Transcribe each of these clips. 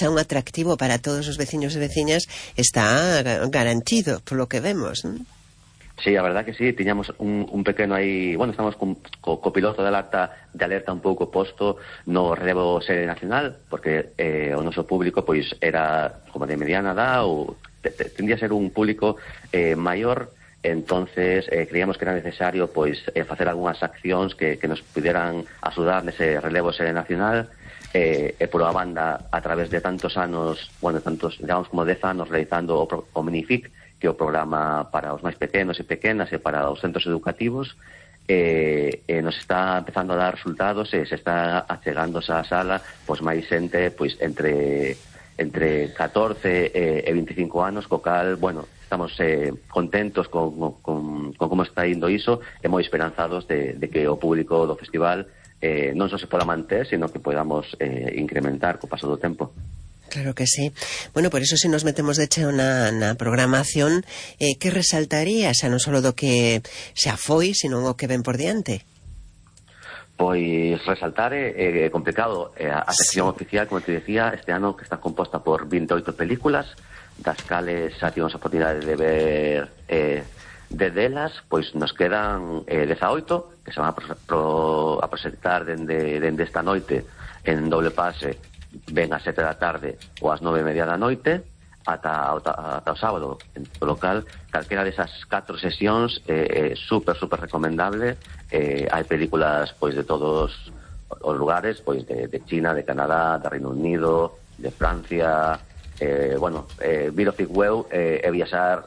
sea un atractivo para todos os veciños e veciñas está garantido, polo que vemos, non? Sí, a verdad que sí, tiñamos un pequeno aí, bueno, estamos co piloto de alerta un pouco posto no relevo serie nacional, porque o noso público pois era como de mediana edad ou tendía a ser un público maior, entonces creíamos que era necesario pois facer algunhas accións que nos puderan axudar nese relevo serie nacional, e por unha banda, a través de tantos anos, bueno, tantos, digamos como 10 anos realizando o Minific, que é o programa para os máis pequenos e pequenas e para os centros educativos, nos está empezando a dar resultados e se está achegándose á sala pois máis xente pois entre 14 e 25 anos, co cal, bueno, estamos contentos con como está indo iso e moi esperanzados de que o público do festival non só se poda manter, sino que podamos incrementar co paso do tempo. Claro que sí. Bueno, por eso se nos metemos de cheo na programación, que resaltaría, xa non só do que xa foi, sino o que ven por diante? Pois resaltar é complicado. A sección oficial, como te decía, este ano que está composta por 28 películas, das cales xa tivemos a oportunidade de ver de delas, pois nos quedan 18 que se van a proxectar dende esta noite en doble pase, ven ás 7 da tarde ou ás 9:30 da noite ata o sábado, en local. Calquera desas 4 sesións super recomendable. Hai películas pois de todos os lugares, pois de China, de Canadá, de Reino Unido, de Francia. Bueno, vir o Figweu é viaxar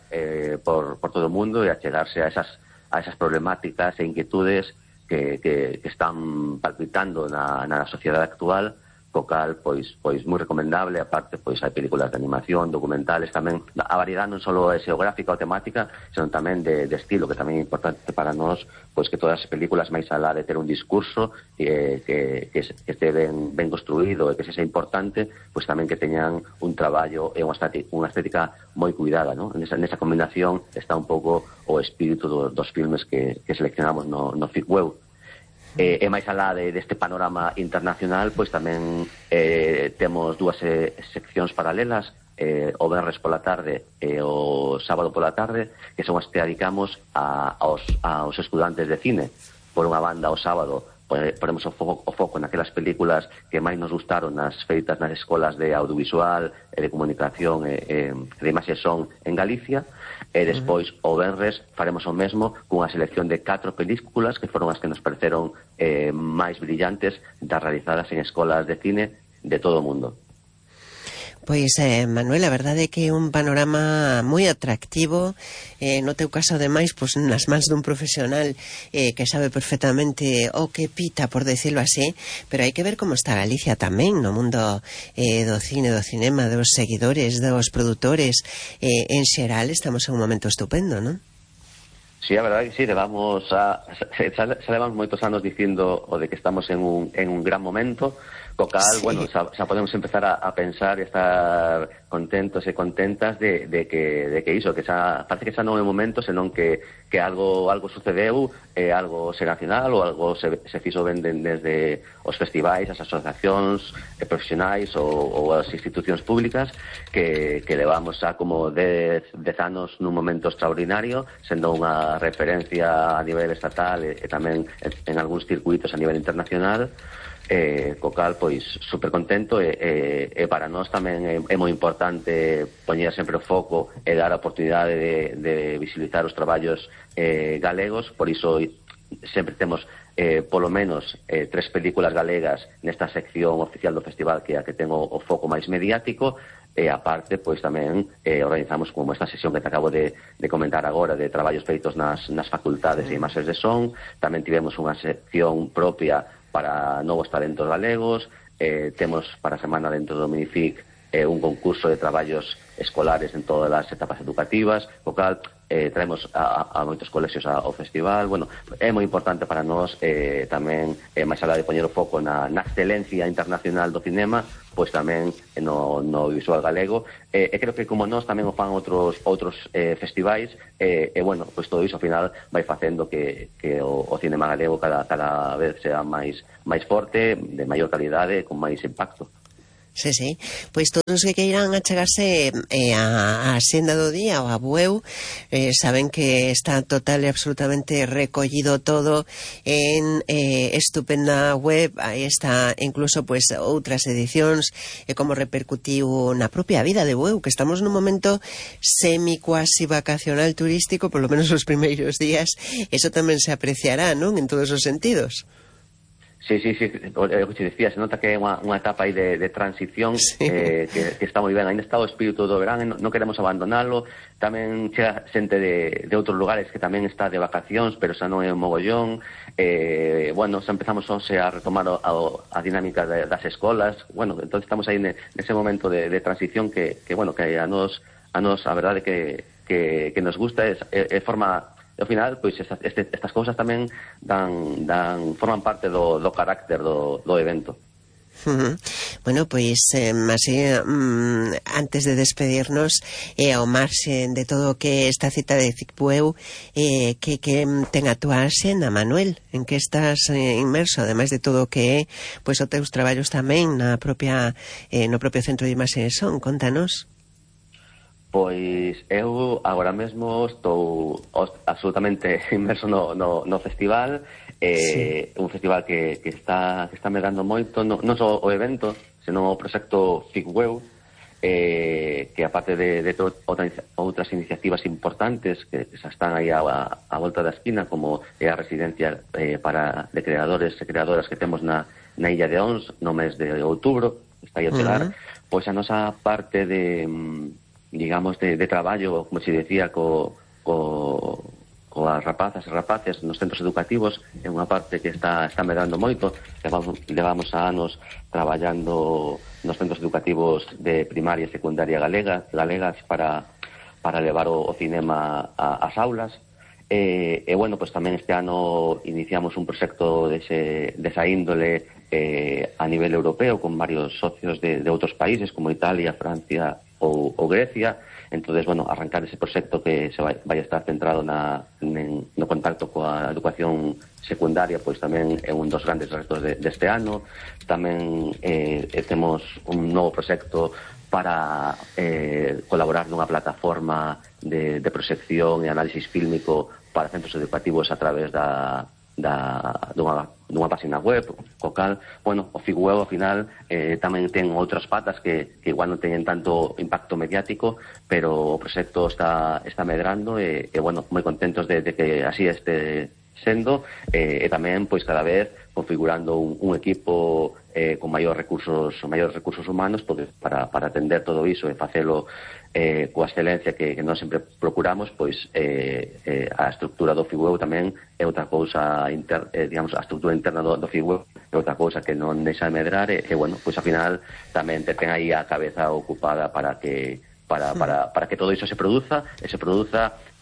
por todo o mundo e achegarse a esas problemáticas e inquietudes que están palpitando na sociedade actual, co cal, pois moi recomendable. Aparte, pois hai películas de animación, documentales tamén. A variedade non só é xeográfica ou temática, senón tamén de estilo, que tamén é importante para nós, pois que todas as películas, máis alá de ter un discurso que este ben construído e que sexa importante, pois tamén que teñan un traballo e unha estética moi cuidada, non? Nesa combinación está un pouco o espírito dos filmes que seleccionamos no Figweu. E máis alá deste panorama internacional, pois tamén temos dúas seccións paralelas, o venres pola tarde e o sábado pola tarde, que son as que dedicamos aos estudantes de cine. Por unha banda, o sábado ponemos o foco naquelas películas que máis nos gustaron nas feitas nas escolas de audiovisual e de comunicación e de imaxe son en Galicia. E despois, o venres, faremos o mesmo cunha selección de 4 películas que foron as que nos pareceron máis brillantes das realizadas en escolas de cine de todo o mundo. Pois, Manuel, a verdade é que é un panorama moi atractivo, no teu caso, ademais, pois, nas mans dun profesional que sabe perfectamente o que pita, por decirlo así, pero hai que ver como está Galicia tamén no mundo do cine, do cinema, dos seguidores, dos produtores. En xeral, estamos en un momento estupendo, non? Sí, a verdade que sí, levamos moitos anos dicindo o de que estamos en un gran momento, co cal, sí. Bueno, xa podemos empezar a pensar e estar contentos e contentas de que iso, que xa parece que xa non é o momento, senón que algo sucedeu, algo se nacional ou algo se fixo ben desde os festivais, as asociacións profesionais ou as institucións públicas que levamos xa como 10 anos nun momento extraordinario, sendo unha referencia a nivel estatal e tamén en algúns circuitos a nivel internacional. Co cal, pois, super contento e para nós tamén é moi importante poñer sempre o foco e dar a oportunidade de visibilizar os traballos galegos. Por iso sempre temos polo menos 3 películas galegas nesta sección oficial do festival, que é a que ten o foco máis mediático. E aparte, pois tamén organizamos como esta sesión que te acabo de comentar agora, de traballos feitos nas facultades e imaxes de son. Tamén tivemos unha sección propia para novos talentos galegos. Temos para a semana dentro do Minific un concurso de traballos escolares en todas as etapas educativas, o cal traemos a moitos colexios ao festival. Bueno, é moi importante para nós tamén, máis alá de poñer o foco na excelencia internacional do cinema, pois tamén no visual galego, e creo que como nós tamén o fan outros festivais, e bueno, pois todo iso ao final vai facendo que o cinema galego cada vez sea máis forte, de maior calidade, con máis impacto. Sí, sí. Pois todos os que queiran achegarse a Senda do Día ou a Bueu, saben que está total e absolutamente recollido todo en estupenda web. Aí está incluso pois outras edicións e como repercutiu na propia vida de Bueu, que estamos nun momento semi-cuasi vacacional turístico, polo menos os primeiros días. Eso tamén se apreciará, non? En todos os sentidos. Sí, o que te decía, se nota que é unha etapa aí de transición, sí. que está moi ben, ainda está o espírito do verán, non queremos abandonalo. Tamén chega xente de outros lugares que tamén está de vacacións, pero xa non é un mogollón. Bueno, xa empezamos a retomar a dinámica das escolas. Bueno, entón estamos aí nese momento de transición que bueno, que a nos a verdade que nos gusta, é forma. E ao final, pois, estas cousas tamén forman parte do carácter do evento. Bueno, pois, así, antes de despedirnos, ao marxe de todo o que esta cita de Bueu, que ten a túa xenda, Manuel? En que estás inmerso, ademais de todo o que é, pois, os teus traballos tamén no propio Centro de Imaxe e Son? Contanos. Pois eu agora mesmo estou absolutamente inmerso no festival, sí. Un festival que está medrando moito, non só o evento, senón o proxecto FICWEU, que aparte de outras iniciativas importantes que xa están aí a volta da esquina, como é a residencia de creadores e creadoras que temos na Illa de Ons no mes de outubro, está aí a chegar, pois a nosa parte digamos, de traballo, como se decía, coas rapazas e rapaces nos centros educativos, é unha parte que está medrando moito. Levamos anos traballando nos centros educativos de primaria e secundaria galegas para levar o cinema ás aulas. E bueno, pues tamén este ano iniciamos un proxecto desa índole a nivel europeo con varios socios de outros países como Italia, Francia ou Grecia. Entonces, bueno, arrancar ese proxecto que se vai a estar centrado no contacto coa educación secundaria, pois tamén é un dos grandes retos deste ano. Tamén temos un novo proxecto para colaborar nunha plataforma de proxección e análisis fílmico para centros educativos a través dunha página web, co cal, bueno, o FICWEU ao final tamén ten outras patas que igual non teñen tanto impacto mediático, pero o proxecto está medrando e bueno, moi contentos de que así este sendo, e tamén, pois, cada vez configurando un equipo con maiores recursos humanos para atender todo iso e facelo coa excelencia que nós sempre procuramos. Pois a estructura do FICWEU tamén é outra cousa, digamos, a estructura interna do FICWEU é outra cousa que non deixa de medrar e bueno, pois ao final tamén ten aí a cabeza ocupada para que todo iso se produza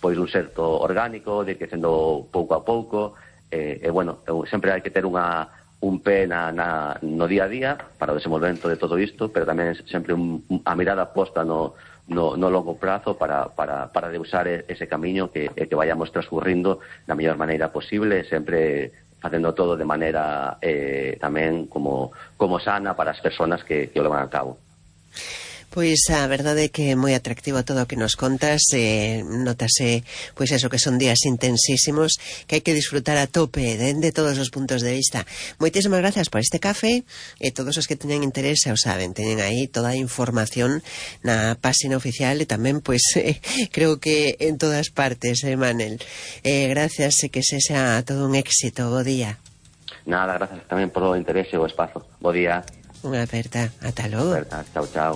pois un xerto orgánico, de que sendo pouco a pouco, e bueno, sempre hai que ter un pé no día a día para o desenvolvemento de todo isto, pero tamén sempre a mirada posta no longo prazo para deusar ese camiño que vayamos transcurrindo da mellor maneira posible, sempre facendo todo de maneira tamén como sana para as persoas que o levan a cabo. Pois a verdade é que é moi atractivo todo o que nos contas, notase pois eso, que son días intensísimos que hai que disfrutar a tope de todos os puntos de vista. Moitísimas gracias por este café e todos os que teñan interés xa o saben, teñen aí toda a información na páxina oficial e tamén pois creo que en todas partes, Manel. Gracias e que sexa todo un éxito. Bo día. Nada, gracias tamén por o interés e o espazo. Bo día. Unha aperta. Ata logo. Chao, chao.